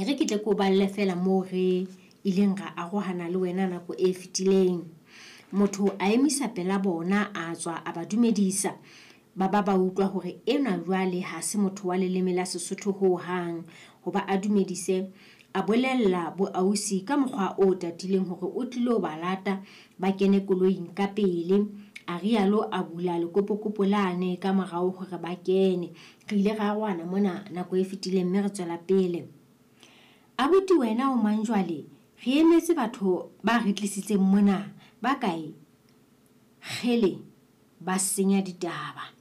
E re ke tle ke o balle feela moo re ileng ra arohana le wena nako e fetileng. Motho a emisa pela bona, a tswa a ba dumedisa. Ba ba ba utlwa hore enwa jwale ha se motho wa leleme la Sesotho ho hang. Hoba a dumedise, a bolella bo ausi ka mokgwa o tatileng hore o tlilo ba lata ba kene koloing ka pele. A rialo a bula lekopokopo lane ka morao hore ba kene. Re ile ra arohana mona nako e fetileng mme re tswela pele. Abuti wena o mang jwale? Re emetse batho ba re tlisitseng mona ba kae? Kgele, ba senya ditaba.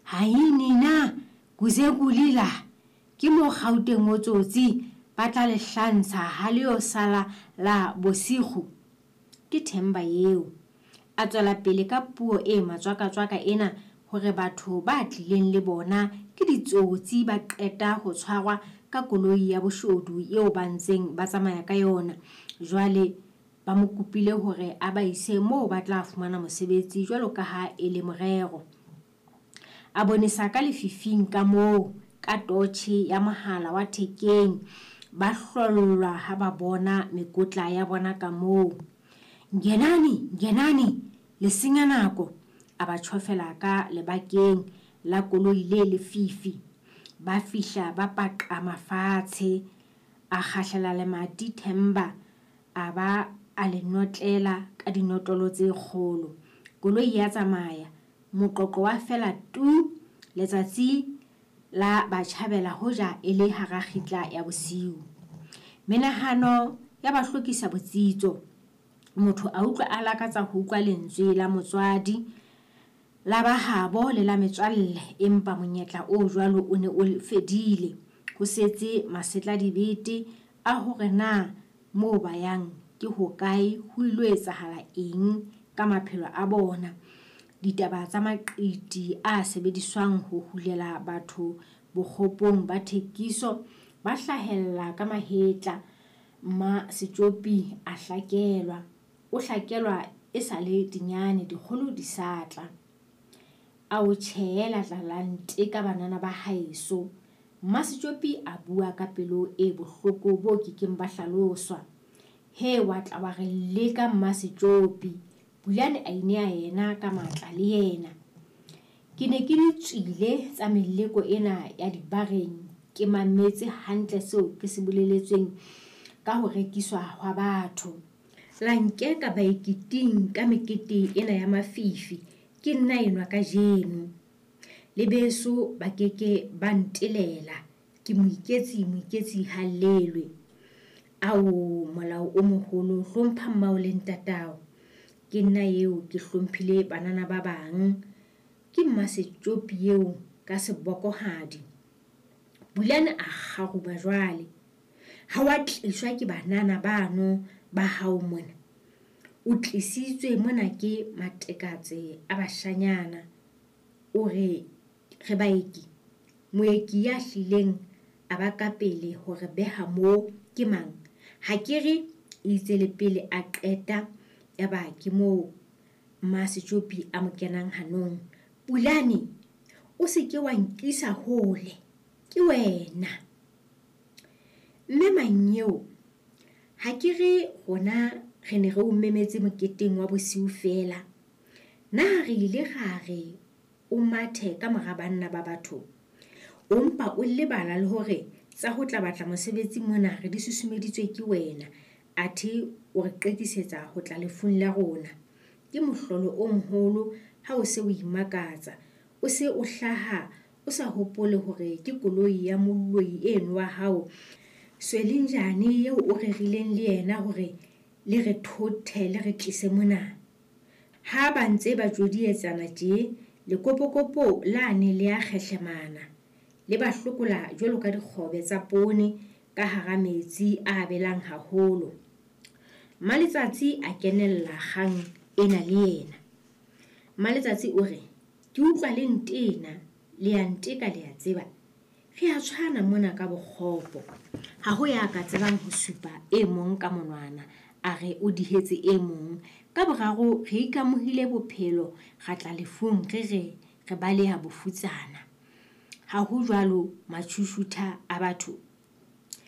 Hai nina, kuze kulila. Ke mo Gauteng o tsotsi ba tla le hlantsha ha le yo sala la bosigo. Ke Themba eo. A tswela pele ka puo e matswakatswaka ena hore batho ba tlileng le bona ke ditsotsi ba qeta ho tshwarwa ka koloi ya boshodu eo ba ntseng ba tsamaya ka yona. Jwale ba mo kopile hore a ba ise moo ba tla fumana mosebetsi jwalo ka ha e le morero. A bonesa ka lefifing ka moo ka totjhe ya mohala wa thekeng. Ba hlollwa ha ba bona mekotla ya bona ka moo. Ngenani, ngenani, le senya nako, a ba tjhofela ka lebakeng la koloi le lefifi. Ba fihla ba paqama fatshe. A kgahlela lemati Themba a ba a le notlela ka dinotlolo tse kgolo. Koloi ya tsamaya. Moqoqo wa fela tu! Letsatsi la ba tjhabela hoja e le hara kgitla ya bosiu. Menahano ya ba hlokisa botsitso. Motho a utlwa a lakatsa ho utlwa lentswe la motswadi, la ba habo le la metswalle, empa monyetla o jwalo o ne o fedile. Ho setse masetladibete a hore na moo ba yang ke hokae, ho ilo etsahala eng ka maphelo a bona. Ditaba tsa maqiti a sebediswang ho hulela batho bokgopong ba thekiso ba hlahella ka mahetla. Mmasetjopi a hlakelwa. O hlakelwa e sa le dinyane, dikgolo di sa tla. Ao tjhe, la tla la nteka banana ba haeso. Mmasetjopi a bua ka pelo e bohloko bo ke keng ba hlaloswa. He, wa tla wa re leka Mmasetjopi. Pulane a inea yena ka matla le yena. Ke ne ke di tswile tsa meleko ena ya dibareng, ke mametse hantle seo ke se boleletsweng ka ho rekiswa hwa batho. La nkeka baeketing ka mekete ena ya mafifi, ke nna enwa kajeno. Le beso ba ke ke ba ntelela, ke moiketsi, moiketsi ha llelwe. Ao, molao o moholo, hlompha mmao le ntatao. Ke nna eo ke hlomphile banana ba bang. Ke Mmasetjopi eo ka sebokohadi. Pulane a kgaruba jwale. Ha wa tliswa ke banana bano ba hao mona. O tlisitswe mona ke matekatse a bashanyana. O re re baeki. Moeki ya hlileng a ba ka pele ho re beha moo ke mang? Ha ke re eitse le pele a qeta yaba ke moo Mmasetjopi a mo kenang hanong. Pulane, o se ke wa nkisa hole. Ke wena. Mme Mannyeo, ha ke re rona re ne re o memetse moketeng wa bosiu feela. Na re ile ra re o mathe ka mora banna ba batho? O mpa o lebala le hore tsa ho tla batla mosebetsi mona re di susumeditswe ke wena, athe o re qetisetsa ho tla lefung la rona. Ke mohlolo o moholo ha o se o imakatsa. O se o hlaha o sa hopole hore ke koloi ya moloi eno wa hao Swelinjane eo o rerileng le yena hore le re thothe le re tlise mona. Ha ba ntse ba tjodietsana tje, lekopokopo lane le a kgehlemana, le ba hlokola jwalo ka dikgobe tsa poone ka hara metsi a belang haholo. Mmaletsatsi a kenella kgang ena le yena. Mmaletsatsi o re, Ke utlwa le ntena, le a nteka le a tseba. Re a tshwana mona ka bokgopo. Ha ho ya ka tsebang ho supa e mong ka monwana a re o dihetse e mong. Ka boraro re ikamohile bophelo ra tla lefung re re re baleha bofutsana. Ha ho jwalo matjhushutha a batho.